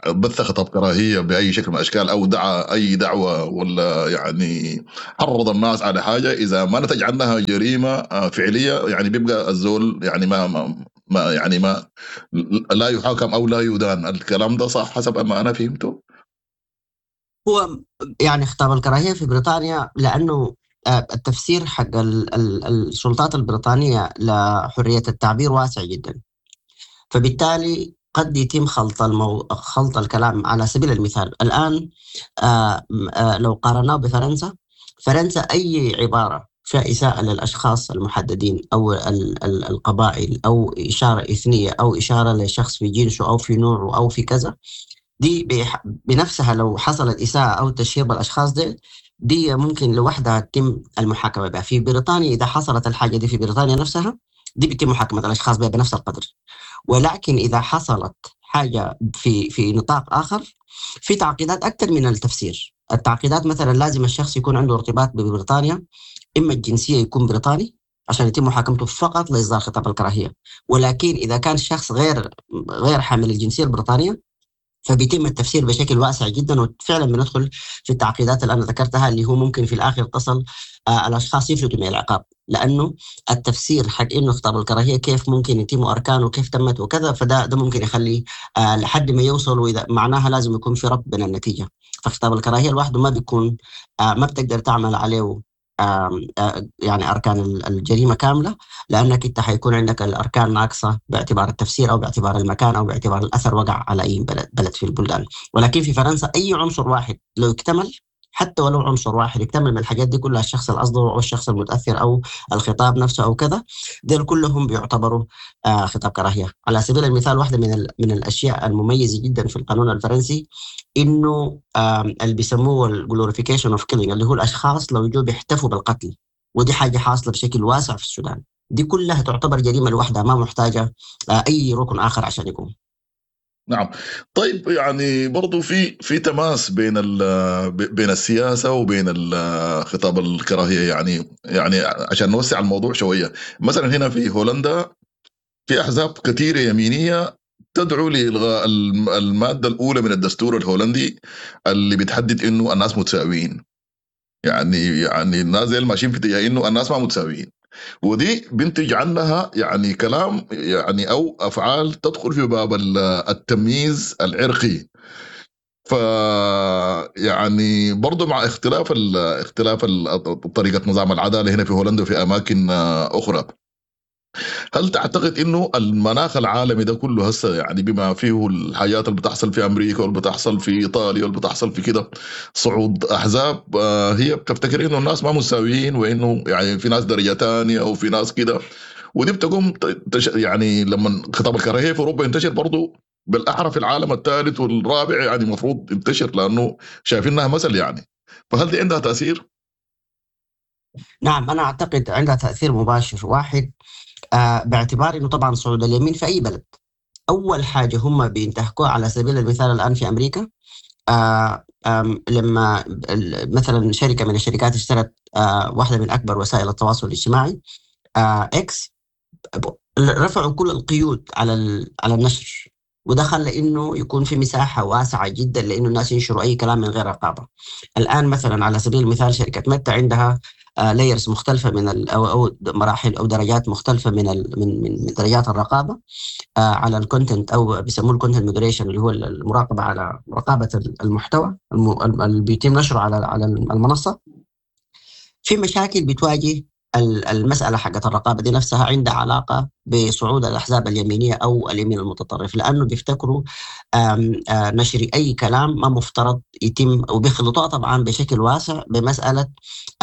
Speaker 11: بث خطاب كراهية باي شكل من الاشكال او دعا اي دعوه ولا يعني حرض الناس على حاجة، اذا ما نتج عنها جريمة فعليه يعني بيبقى الزول يعني ما ما ما يعني ما لا يحاكم او لا يدان. الكلام ده صح حسب ما انا فهمته؟
Speaker 12: هو يعني خطاب الكراهية في بريطانيا، لانه التفسير حق السلطات البريطانية لحرية التعبير واسع جدا، فبالتالي قد يتم خلط الكلام. على سبيل المثال الان لو قارناه بفرنسا، فرنسا اي عبارة فيها إساءة للأشخاص المحددين أو القبائل أو إشارة إثنية أو إشارة لشخص في جنسه أو في نوعه أو في كذا، دي بنفسها لو حصلت إساءة أو تشهير بالأشخاص دي ممكن لوحدها تتم المحاكمة بها. في بريطانيا إذا حصلت الحاجة دي في بريطانيا نفسها، دي بيتم محاكمة الأشخاص بها بنفس القدر. ولكن إذا حصلت حاجة في نطاق آخر، في تعقيدات أكثر من التفسير. التعقيدات مثلا لازم الشخص يكون عنده ارتباط ببريطانيا، إما الجنسية يكون بريطاني عشان يتم محاكمته فقط لإصدار خطاب الكراهية. ولكن إذا كان شخص غير حامل الجنسية البريطانية فبيتم التفسير بشكل واسع جدا، وفعلا بندخل في التعقيدات اللي أنا ذكرتها، اللي هو ممكن في الآخر تصل الأشخاص يفلتوا من العقاب، لأنه التفسير حق إنه خطاب الكراهية كيف ممكن يتم أركانه كيف تمت وكذا، فده ده ممكن يخلي لحد ما يوصلوا، إذا معناها لازم يكون في ربط بين النتيجة. فخطاب الكراهية لوحده ما بيكون ما بتقدر تعمل عليه يعني أركان الجريمة كاملة، لأنك أنت حيكون عندك الأركان ناقصة باعتبار التفسير أو باعتبار المكان أو باعتبار الأثر وقع على أي بلد في البلدان. ولكن في فرنسا أي عنصر واحد لو اكتمل، حتى ولو عنصر واحد اكتمل من الحاجات دي كلها، الشخص الأصدر أو الشخص المتأثر أو الخطاب نفسه أو كذا، دول كلهم بيعتبروا خطاب كراهية. على سبيل المثال واحدة من الأشياء المميزة جدا في القانون الفرنسي إنه اللي بيسموه ال glorification of killing، اللي هو الأشخاص لو جو بيحتفوا بالقتل، ودي حاجة حاصلة بشكل واسع في السودان، دي كلها تعتبر جريمة لوحدها، ما محتاجة أي ركن آخر عشان يقوم.
Speaker 11: نعم. طيب يعني برضو في تماس بين السياسة وبين خطاب الكراهية، يعني عشان نوسع الموضوع شوية، مثلا هنا في هولندا في أحزاب كثيرة يمينية تدعو لإلغاء المادة الأولى من الدستور الهولندي اللي بتحدد إنه الناس متساويين. يعني الناس زي الماشيين في اتجاه إنه الناس ما متساويين، ودي بنتج عنها يعني كلام يعني أو أفعال تدخل في باب التمييز العرقي. ف يعني برضو مع اختلاف طريقة نظام العدالة هنا في هولندا وفي أماكن أخرى، هل تعتقد إنه المناخ العالمي ده كله هسه يعني بما فيه الحاجات اللي بتحصل في أمريكا واللي بتحصل في إيطاليا واللي بتحصل في كده، صعود أحزاب هي بتفتكر إنه الناس ما مساويين، وإنه يعني في ناس درجة تانية أو في ناس كده، ودي بتقوم يعني لما خطاب الكراهية في أوروبا ينتشر برضو بالأحرى في العالم الثالث والرابع، يعني المفروض ينتشر لأنه شايفينها مثل يعني، فهل دي عندها تأثير؟
Speaker 12: نعم، أنا أعتقد عندها تأثير مباشر. واحد باعتبار انه طبعا صعود اليمين في اي بلد اول حاجة هم بينتهكوها، على سبيل المثال الان في امريكا لما مثلا شركة من الشركات اشترت واحدة من اكبر وسائل التواصل الاجتماعي اكس، رفعوا كل القيود على النشر، وده خلى انه يكون في مساحة واسعة جدا لانه الناس ينشروا اي كلام من غير رقابه. الان مثلا على سبيل المثال شركة ميتا عندها layers مختلفة من أو مراحل أو درجات مختلفة من من درجات الرقابة على ال content، أو بيسموه ال content moderation، اللي هو المراقبة على رقابة المحتوى اللي بيتم نشره على المنصة. في مشاكل بتواجه المسألة حقت الرقابة دي نفسها، عندها علاقة بصعود الأحزاب اليمينية أو اليمين المتطرف، لأنه بيفتكروا نشر أي كلام ما مفترض يتم، وبيخلطوها طبعا بشكل واسع بمسألة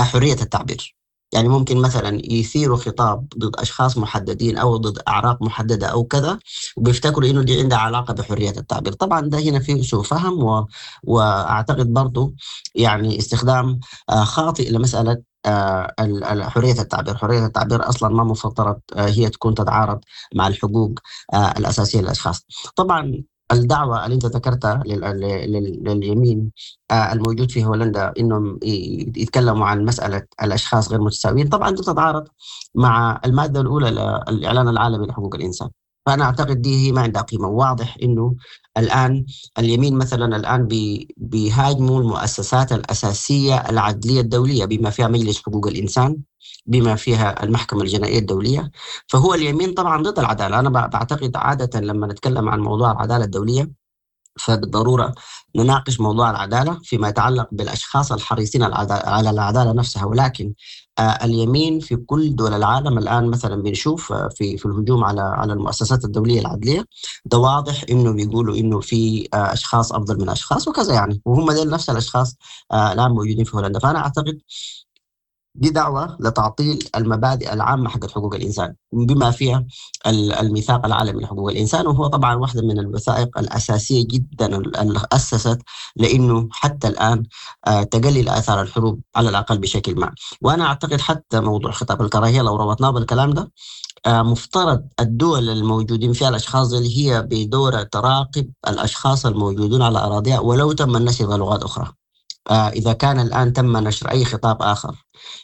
Speaker 12: حرية التعبير. يعني ممكن مثلا يثيروا خطاب ضد أشخاص محددين أو ضد أعراق محددة أو كذا، وبيفتكروا إنه دي عندها علاقة بحرية التعبير. طبعا ده هنا فيه سوء فهم، وأعتقد برضو يعني استخدام خاطئ لمسألة حرية التعبير. حرية التعبير أصلا ما مفترض هي تكون تتعارض مع الحقوق الأساسية للأشخاص. طبعا الدعوة اللي انت ذكرتها لليمين الموجود في هولندا انهم يتكلموا عن مسالة الاشخاص غير متساويين، طبعا دي تتعارض مع المادة الاولى للاعلان العالمي لحقوق الانسان. فانا اعتقد دي هي ما عندها قيمة. واضح انه الان اليمين مثلا الان بيهاجموا المؤسسات الاساسية العدليه الدولية بما فيها مجلس حقوق الانسان، بما فيها المحكمة الجنائية الدولية. فهو اليمين طبعا ضد العدالة. انا بعتقد عادة لما نتكلم عن موضوع العدالة الدولية فبالضروره نناقش موضوع العدالة فيما يتعلق بالاشخاص الحريصين على العدالة نفسها، ولكن اليمين في كل دول العالم الان مثلا بنشوف في الهجوم على المؤسسات الدولية العدليه ده واضح انه بيقولوا انه في اشخاص افضل من اشخاص وكذا يعني، وهم دول نفس الاشخاص الان موجودين في هولندا. فانا اعتقد دي دعوة لتعطيل المبادئ العامة حقت حقوق الإنسان بما فيها الميثاق العالمي لحقوق الإنسان، وهو طبعا واحدة من الوثائق الأساسية جدا اللي أسست لأنه حتى الآن تقلل آثار الحروب على الأقل بشكل ما. وأنا أعتقد حتى موضوع خطاب الكراهية لو ربطناه بالكلام ده، مفترض الدول الموجودين فيها الأشخاص اللي هي بدورة تراقب الأشخاص الموجودون على أراضيها ولو تم النشر بلغات أخرى. إذا كان الآن تم نشر أي خطاب آخر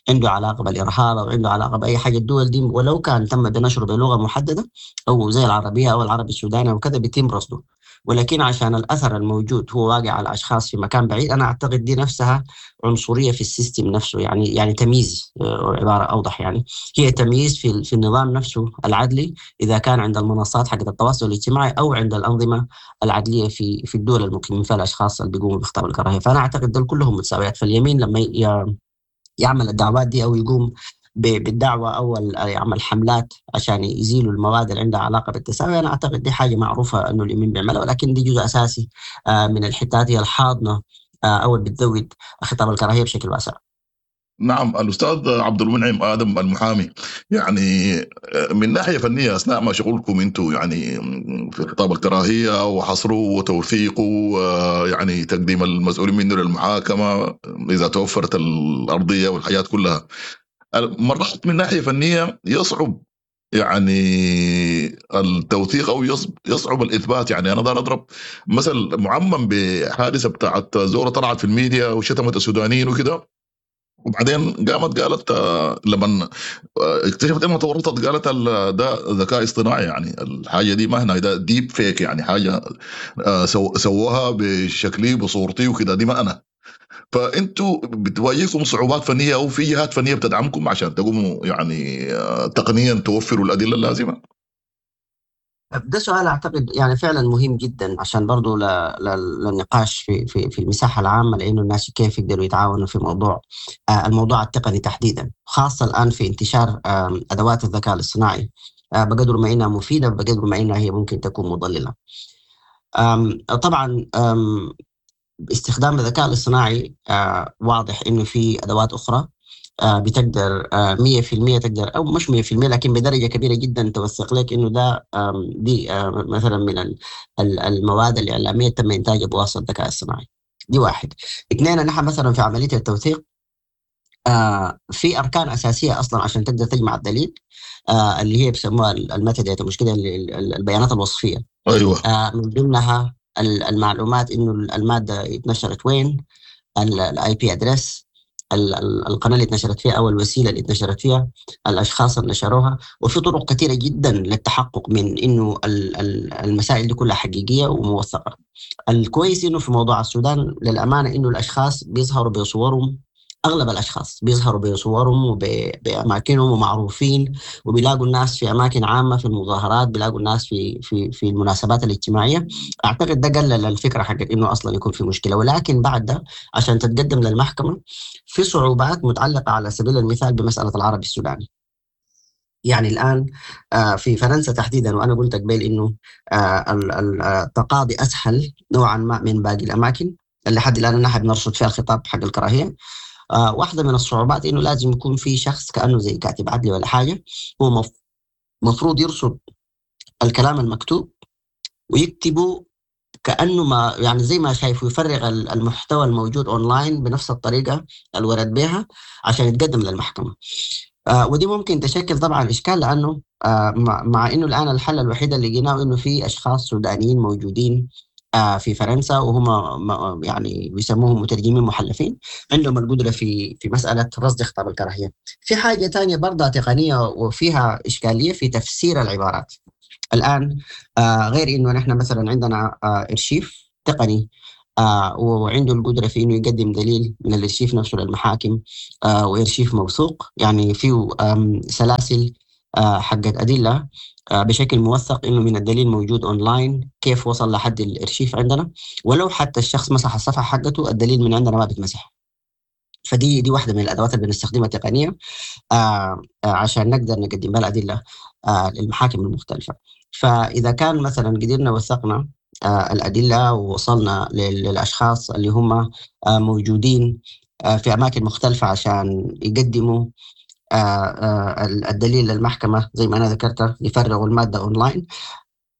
Speaker 12: عنده علاقة بالإرهاب أو عنده علاقة بأي حاجة، الدول دي ولو كان تم بنشره بلغة محددة أو زي العربية أو العربي السوداني أو كذا بيتم رصده، ولكن عشان الأثر الموجود هو واقع على أشخاص في مكان بعيد، أنا أعتقد دي نفسها عنصرية في ال system نفسه، يعني تمييز، عبارة أوضح يعني هي تمييز في النظام نفسه العدلي إذا كان عند المنصات حقت التواصل الاجتماعي أو عند الأنظمة العدلية في الدول المقيمين فيها الأشخاص اللي بيقوموا بخطاب الكراهية. فأنا أعتقد دول كلهم متساويات. فاليمين لما يعمل الدعوات دي أو يقوم بالدعوة أو يعمل حملات عشان يزيلوا المواد اللي عندها علاقة بالتساوي، أنا أعتقد دي حاجة معروفة أنه اليمين بيعملها، ولكن دي جزء أساسي من الحتات هي الحاضنة أو اللي بتزود خطاب الكراهية بشكل واسع.
Speaker 11: نعم، الأستاذ عبد المنعم آدم المحامي، يعني من ناحية فنية أثناء ما شغلكم أنتم يعني في خطاب الكراهية وحصره وتوثيقه، يعني تقديم المسؤولين منه للمحاكمة إذا توفرت الأرضية والحاجات كلها، مرات من ناحية فنية يصعب يعني التوثيق أو يصعب الإثبات. يعني أنا دار أضرب مثل معمم بحادثة بتاعت زورة طلعت في الميديا وشتمت السودانيين وكده، وبعدين قامت قالت لما اكتشفت انها تورطت قالت ده ذكاء اصطناعي، يعني الحاجة دي ما هنا، ده deep fake، يعني حاجة سووها بشكلي بصورتي وكده، دي ما انا. فانتوا بتواجهكم صعوبات فنية او في جهات فنية بتدعمكم عشان تقوموا يعني تقنيا توفروا الادلة اللازمة؟
Speaker 12: ده سؤال اعتقد يعني فعلا مهم جدا عشان برضو للنقاش في في في المساحة العامة، لانه الناس كيف يقدروا يتعاونوا في موضوع الموضوع التقني تحديدا، خاصة الان في انتشار ادوات الذكاء الاصطناعي، بقدر ما انها مفيدة بقدر ما انها هي ممكن تكون مضلله. طبعا استخدام الذكاء الاصطناعي واضح انه في ادوات اخرى بتقدر 100% تقدر، او مش 100% لكن بدرجة كبيرة جدا توثق لك انه ده دي مثلا من المواد الاعلامية تم انتاجها بواسطة الذكاء الصناعي. دي واحد. اثنين، نحن مثلا في عملية التوثيق في اركان اساسية اصلا عشان تقدر تجمع الدليل، اللي هي بيسموها ال metadata، مش كده، البيانات الوصفية.
Speaker 11: ايوه.
Speaker 12: من ضمنها المعلومات انه المادة اتنشرت وين، ال IP address، القناة اللي اتنشرت فيها او الوسيلة اللي اتنشرت فيها، الاشخاص اللي نشروها، وفي طرق كثيرة جدا للتحقق من انه المسائل دي كلها حقيقية وموثقه. الكويس انه في موضوع السودان للامانة انه الاشخاص بيظهروا بصورهم، اغلب الاشخاص بيظهروا بصورهم وباماكنهم ومعروفين، وبيلاقوا الناس في اماكن عامة في المظاهرات، بيلاقوا الناس في في في المناسبات الاجتماعية. اعتقد ده قلل الفكرة حقت انه اصلا يكون في مشكلة. ولكن بعد ده عشان تتقدم للمحكمة في صعوبات متعلقه على سبيل المثال بمسالة العربي السوداني. يعني الان في فرنسا تحديدا، وانا قلت قبل انه التقاضي اسهل نوعا ما من باقي الاماكن اللي لحد الان نحن بنرصد فيها الخطاب حق الكراهية. واحدة من الصعوبات إنه لازم يكون في شخص كأنه زي كاتب عدلي ولا حاجة، هو مفروض يرصد الكلام المكتوب ويكتبه كأنه ما يعني زي ما شايفه، يفرغ المحتوى الموجود أونلاين بنفس الطريقة اللي ورد بها عشان يتقدم للمحكمة. ودي ممكن تشكل طبعا اشكال، لانه مع انه الان الحل الوحيد اللي لقيناه انه في اشخاص سودانيين موجودين في فرنسا، وهم يعني بيسموهم مترجمين محلفين، عندهم القدرة في مسالة رصد خطاب الكراهية. في حاجة ثانية برضه تقنية وفيها اشكالية في تفسير العبارات. الان غير انه نحن مثلا عندنا ارشيف تقني وعنده القدرة في انه يقدم دليل من الارشيف نفسه للمحاكم، وارشيف موثوق، يعني فيه سلاسل حقت ادلة بشكل موثق، انه من الدليل موجود اونلاين كيف وصل لحد الارشيف عندنا، ولو حتى الشخص مسح الصفحة حقته الدليل من عندنا ما بيتمسح. فدي دي واحدة من الادوات اللي بنستخدمها تقنية عشان نقدر نقدم بها الادلة للمحاكم المختلفة. فاذا كان مثلا قدرنا وثقنا الادلة ووصلنا للاشخاص اللي هم موجودين في اماكن مختلفة عشان يقدموا الدليل للمحكمة، زي ما أنا ذكرت يفرغوا المادة أونلاين.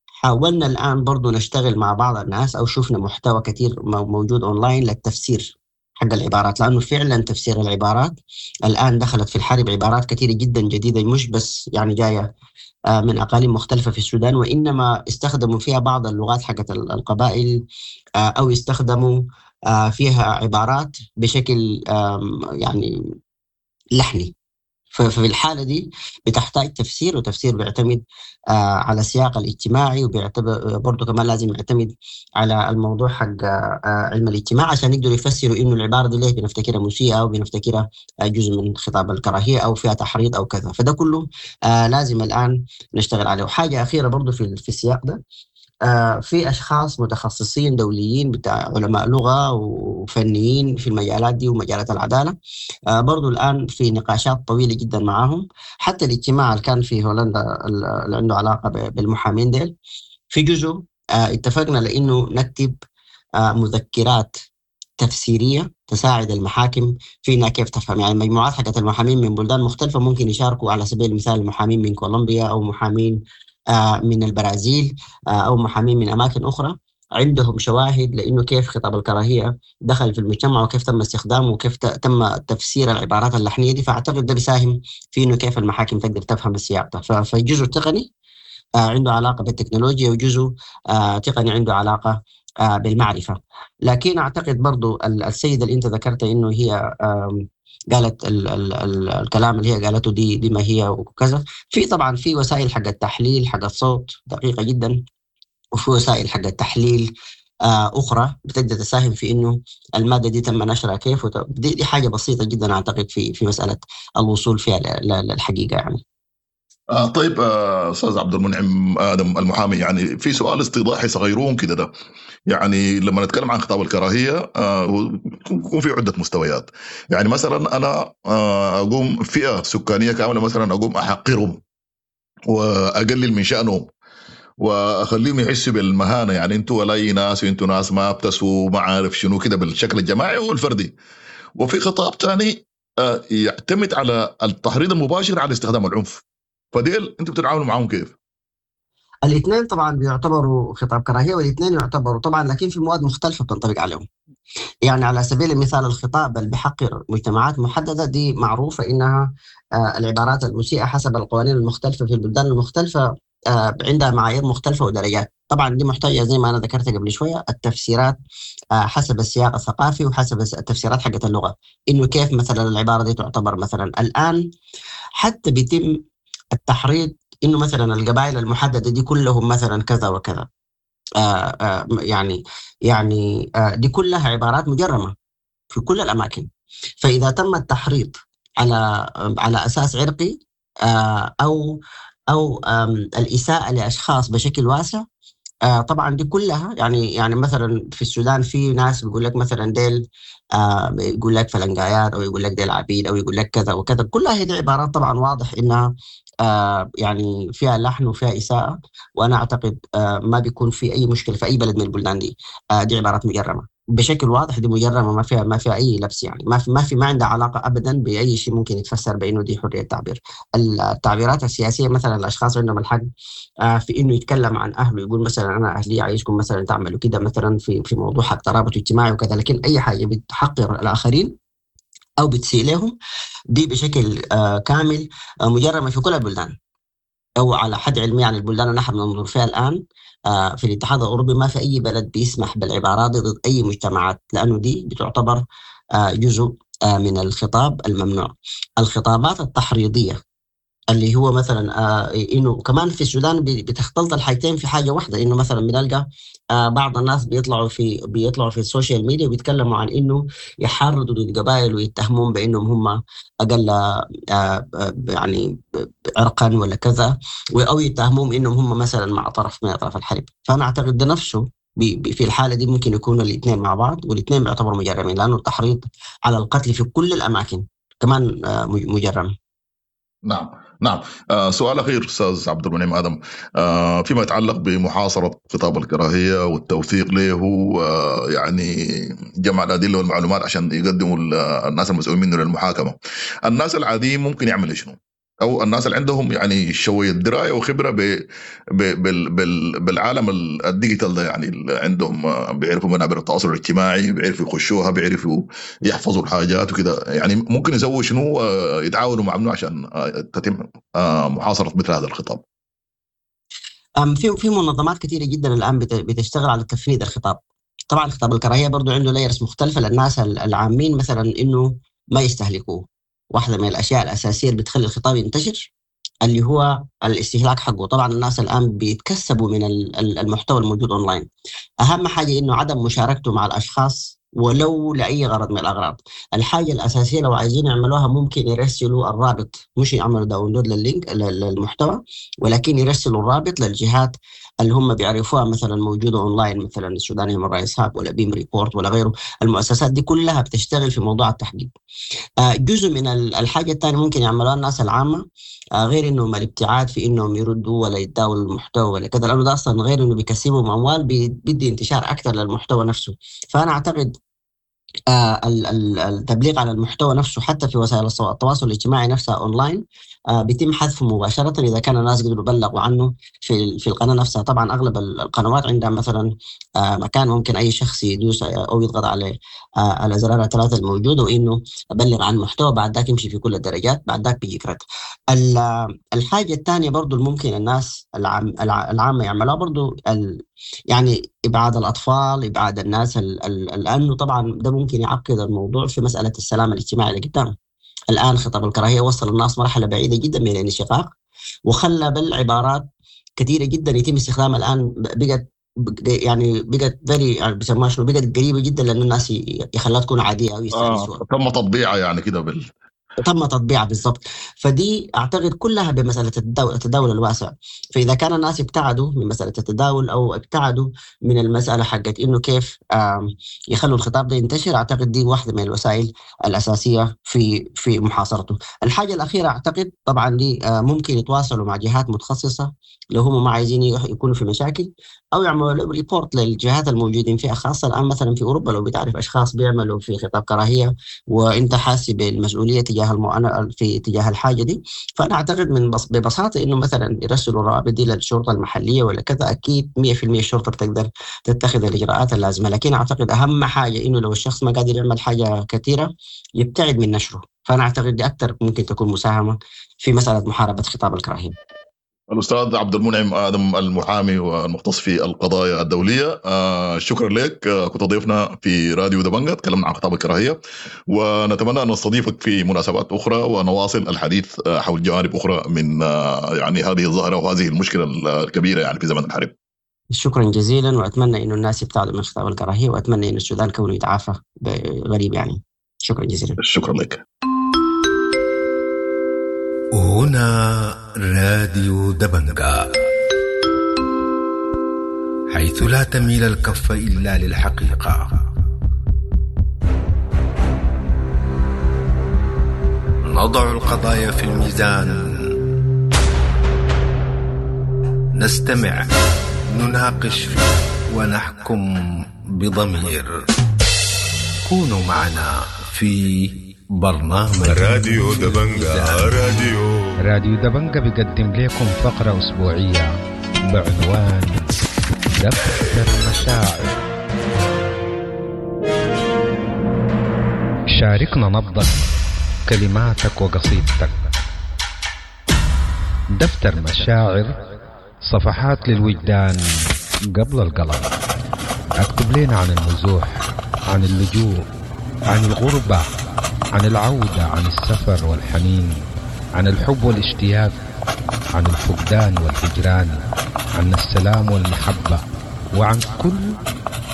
Speaker 12: حاولنا الآن برضو نشتغل مع بعض الناس، أو شفنا محتوى كثير موجود أونلاين للتفسير حق العبارات، لأنه فعلا تفسير العبارات الآن دخلت في الحرب عبارات كثيرة جدا جديدة، مش بس يعني جاية من أقاليم مختلفة في السودان، وإنما استخدموا فيها بعض اللغات حقت القبائل، أو استخدموا فيها عبارات بشكل يعني لحني. ففي الحالة دي بتحتاج تفسير، وتفسير بيعتمد على السياق الاجتماعي، وبيعتبر برضه كمان لازم يعتمد على الموضوع حق علم الاجتماع عشان يقدروا يفسروا إنه العبارة دي ليه بنفتكرها مسيئة، أو بنفتكرها جزء من خطاب الكراهية، أو فيها تحريض أو كذا. فده كله لازم الآن نشتغل عليه. وحاجة أخيرة برضه في السياق ده، في أشخاص متخصصين دوليين بتاع علماء لغة وفنيين في المجالات دي ومجالات العدالة، برضو الآن في نقاشات طويلة جدا معاهم. حتى الاجتماع اللي كان في هولندا اللي عنده علاقة بالمحامين ديل، في جزء اتفقنا لأنه نكتب مذكرات تفسيرية تساعد المحاكم في إنها كيف تفهم. يعني مجموعات حقت المحامين من بلدان مختلفة ممكن يشاركوا، على سبيل المثال المحامين من كولومبيا، أو محامين من البرازيل، أو محامين من أماكن أخرى، عندهم شواهد لأنه كيف خطاب الكراهية دخل في المجتمع، وكيف تم استخدامه، وكيف تم تفسير العبارات اللحنية دي. فأعتقد ده بيساهم في إنه كيف المحاكم تقدر تفهم السياق ده. فالجزء التقني عنده علاقة بالتكنولوجيا، وجزء تقني عنده علاقة بالمعرفة. لكن أعتقد برضو السيدة اللي أنت ذكرت إنه هي قالت ال ال ال الكلام اللي هي قالته دي ما هي وكذا، في طبعا في وسائل حق التحليل حق الصوت دقيقة جدا، وفي وسائل حق التحليل أخرى بتقدر تساهم في إنه المادة دي تم نشرها كيف. دي حاجة بسيطة جدا أعتقد في مسألة الوصول فيها للحقيقة يعني.
Speaker 11: طيب استاذ عبد المنعم ادم المحامي، يعني في سؤال استيضاحي صغيرون كده ده، يعني لما نتكلم عن خطاب الكراهية يكون في عده مستويات. يعني مثلا انا اقوم فئة سكانية كاملة مثلا اقوم احقرهم واقلل من شانهم واخليهم يحسوا بالمهانه، يعني انتوا ولا اي ناس، وانتوا ناس ما بتسوا ما عارف شنو كده بالشكل الجماعي والفردي. وفي خطاب ثاني يعتمد على التحريض المباشر على استخدام العنف، فديل انتوا بتتعاملوا معاهم كيف؟
Speaker 12: الاثنين طبعا بيعتبروا خطاب كراهية، والاثنين يعتبروا طبعا، لكن في مواد مختلفة بتنطبق عليهم. يعني على سبيل المثال الخطاب اللي بحقر مجتمعات محددة دي معروفة انها العبارات المسيئه حسب القوانين المختلفة في البلدان المختلفة عندها معايير مختلفة ودرجات. طبعا دي محتاجه زي ما انا ذكرت قبل شوية التفسيرات حسب السياق الثقافي وحسب التفسيرات حقت اللغة، انه كيف مثلا العبارة دي تعتبر. مثلا الان حتى بيتم التحريض انه مثلا القبائل المحددة دي كلهم مثلا كذا وكذا، يعني دي كلها عبارات مجرمه في كل الاماكن. فاذا تم التحريض على اساس عرقي او الاساءة لاشخاص بشكل واسع، طبعا دي كلها يعني مثلا في السودان في ناس بيقول لك مثلا ديل يقول لك فلنقايات، او يقول لك ديل عبيد، او يقول لك كذا وكذا. كلها هذه عبارات طبعا واضح انها يعني فيها لحن وفيها اساءه، وانا اعتقد ما بيكون في اي مشكلة في اي بلد من البلدان دي. دي عبارات مجرمه بشكل واضح، دي مجرمه ما فيها اي لبس، يعني ما عندها علاقة ابدا باي شيء ممكن يتفسر بانه دي حرية تعبير. التعبيرات السياسية مثلا الاشخاص عندهم الحق في انه يتكلم عن اهله، يقول مثلا انا اهلي عايزكم مثلا تعملوا كده مثلا في موضوع حق ترابط اجتماعي وكذا، لكن اي حاجة بتحقر الاخرين أو بتسيء لهم، دي بشكل كامل مجرمة في كل البلدان، أو على حد علمي يعني البلدان اللي نحن بننظر فيها الآن في الاتحاد الأوروبي ما في أي بلد بيسمح بالعبارات ضد أي مجتمعات، لأنه دي بتعتبر جزء من الخطاب الممنوع. الخطابات التحريضية اللي هو مثلا انه كمان في السودان بتختلط الحاجتين في حاجة واحدة، انه مثلا بنلقى بعض الناس بيطلعوا في ال social media وبيتكلموا عن انه يحرضوا ضد قبائل ويتهمون بانهم هم اقل يعني عرقا ولا كذا، او يتهمون انهم هم مثلا مع طرف من اطراف الحرب. فانا اعتقد ده نفسه في الحالة دي ممكن يكونوا الاثنين مع بعض، والاثنين بيعتبروا مجرمين، لانه التحريض على القتل في كل الاماكن كمان مجرم.
Speaker 11: نعم نعم. سؤال أخير أستاذ عبد المنعم آدم، فيما يتعلق بمحاصرة خطاب الكراهية والتوثيق له، يعني جمع الأدلة والمعلومات عشان يقدموا الناس المسؤولين منه للمحاكمة، الناس العاديين ممكن يعملوا شنو؟ أو الناس اللي عندهم يعني شوية دراية وخبرة بالعالم ال digital ده، يعني اللي عندهم بيعرفوا منابر التواصل الاجتماعي، بيعرفوا يخشوها، بيعرفوا يحفظوا الحاجات وكده، يعني ممكن يسووا شنو، يتعاونوا مع منو عشان تتم محاصرة مثل هذا الخطاب؟
Speaker 12: في منظمات كثيرة جدا الآن بتشتغل على تفنيد الخطاب. طبعا خطاب الكراهية برضو عنده layers مختلفة للناس العامين، مثلا إنه ما يستهلكوه. واحدة من الأشياء الأساسية اللي بتخلي الخطاب ينتشر اللي هو الاستهلاك حقه. طبعا الناس الآن بيتكسبوا من المحتوى الموجود أونلاين. أهم حاجة إنه عدم مشاركته مع الأشخاص ولو لأي غرض من الأغراض. الحاجة الأساسية لو عايزين يعملوها ممكن يرسلوا الرابط، مش يعملوا download لل link للمحتوى، ولكن يرسلوا الرابط للجهات اللي هم بيعرفوها، مثلا موجودة أونلاين، مثلا السودان Human Rights Hub ولا بيم Report ولا غيره. المؤسسات دي كلها بتشتغل في موضوع التحقيق. جزء من الحاجة الثانية ممكن يعملوها الناس العامة، غير إنهم الابتعاد في إنهم يردوا ولا يتداولوا المحتوى ولا كذا، لأنه ده أصلا غير إنه بيكسبهم أموال، بيدي انتشار أكثر للمحتوى نفسه. فأنا أعتقد التبليغ على المحتوى نفسه حتى في وسائل التواصل الاجتماعي نفسها اونلاين بيتم حذفه مباشرة اذا كان الناس قدروا بلغوا عنه في القناة نفسها. طبعا اغلب القنوات عندها مثلا مكان ممكن اي شخص يدوس او يضغط على الازرار الثلاثة الموجودة وانه ابلغ عن محتوى، بعد ذاك يمشي في كل الدرجات، بعد ذاك بيجيك رد. الحاجة الثانية برضو الممكن الناس العامة يعملوها برضو يعني ابعاد الاطفال، ابعاد الناس، لانه طبعا ده ممكن يعقد الموضوع في مسالة السلام الاجتماعي اللي قدام. الان خطاب الكراهية وصل الناس مرحلة بعيدة جدا من الانشقاق، وخلى بالعبارات كثيرة جدا يتم استخدامها الان، بقت يعني بقت very بيسموها شنو، بقت قريبه جدا لان الناس يخلوها تكون عادية او يستانسوها.
Speaker 11: تم تطبيعها يعني كده
Speaker 12: تم تطبيعها بالضبط. فدي اعتقد كلها بمسالة التداول الواسع. فاذا كان الناس ابتعدوا من مسالة التداول او ابتعدوا من المسالة حقت انه كيف يخلوا الخطاب ده ينتشر، اعتقد دي واحدة من الوسائل الاساسية في محاصرته. الحاجة الاخيرة اعتقد طبعا دي ممكن يتواصلوا مع جهات متخصصة لو هم ما عايزين يكونوا في مشاكل، او يعملوا report للجهات الموجودين فيها، خاصة الان مثلا في اوروبا لو بتعرف اشخاص بيعملوا في خطاب كراهية وانت حاسس بالمسؤولية تجاه في تجاه الحاجة دي. فانا اعتقد من ببساطة انه مثلا يرسلوا الروابط دي للشرطة المحلية ولا كذا، اكيد 100% الشرطة بتقدر تتخذ الاجراءات اللازمة. لكن اعتقد اهم حاجة انه لو الشخص ما قادر يعمل حاجة كثيرة يبتعد من نشره. فانا اعتقد دي اكثر ممكن تكون مساهمة في مسالة محاربة خطاب الكراهية.
Speaker 11: الأستاذ عبد المنعم آدم المحامي والمختص في القضايا الدولية، شكرا لك، كنت ضيفنا في راديو دبنجة، تكلمنا عن خطاب الكراهية، ونتمنى أن نستضيفك في مناسبات أخرى ونواصل الحديث حول جوانب أخرى من يعني هذه الظاهرة وهذه المشكلة الكبيرة يعني في زمن الحرب.
Speaker 12: شكرا جزيلا، وأتمنى أن الناس يبتعدوا من خطاب الكراهية، وأتمنى أن السودان كونه يتعافى غريب يعني. شكرا جزيلا.
Speaker 11: شكرا لك.
Speaker 10: هنا راديو دبنجا، حيث لا تميل الكف إلا للحقيقة. نضع القضايا في الميزان، نستمع، نناقش، ونحكم بضمير. كونوا معنا في برنامج
Speaker 13: راديو دبنجا. راديو
Speaker 14: دبنجا بيقدم لكم فقرة أسبوعية بعنوان دفتر المشاعر. شاركنا نبضك كلماتك وقصيدتك. دفتر مشاعر، صفحات للوجدان قبل القلم. اكتب لنا عن النزوح، عن اللجوء، عن الغربة، عن العودة، عن السفر والحنين، عن الحب والاشتياق، عن الفقدان والهجران، عن السلام والمحبة، وعن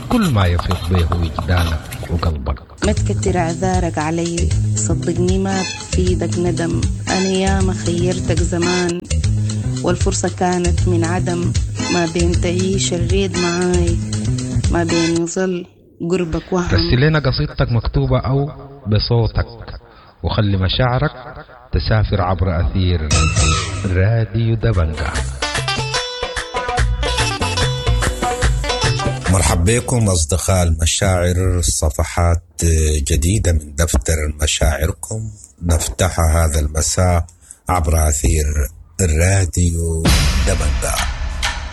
Speaker 14: كل ما يفيض به وجدانك وقلبك.
Speaker 15: ما تكتر اعذارك علي، صدقني ما بفيدك ندم، انا ياما خيرتك زمان والفرصة كانت من عدم، ما بين تعيش الريد معاي ما بين يظل قربك وهم.
Speaker 14: رسل لنا قصيدتك مكتوبة أو بصوتك، وخلي مشاعرك تسافر عبر أثير راديو دبنجة.
Speaker 16: مرحب بكم أصدقاء المشاعر، صفحات جديدة من دفتر مشاعركم نفتحها هذا المساء عبر أثير الراديو دبنجة.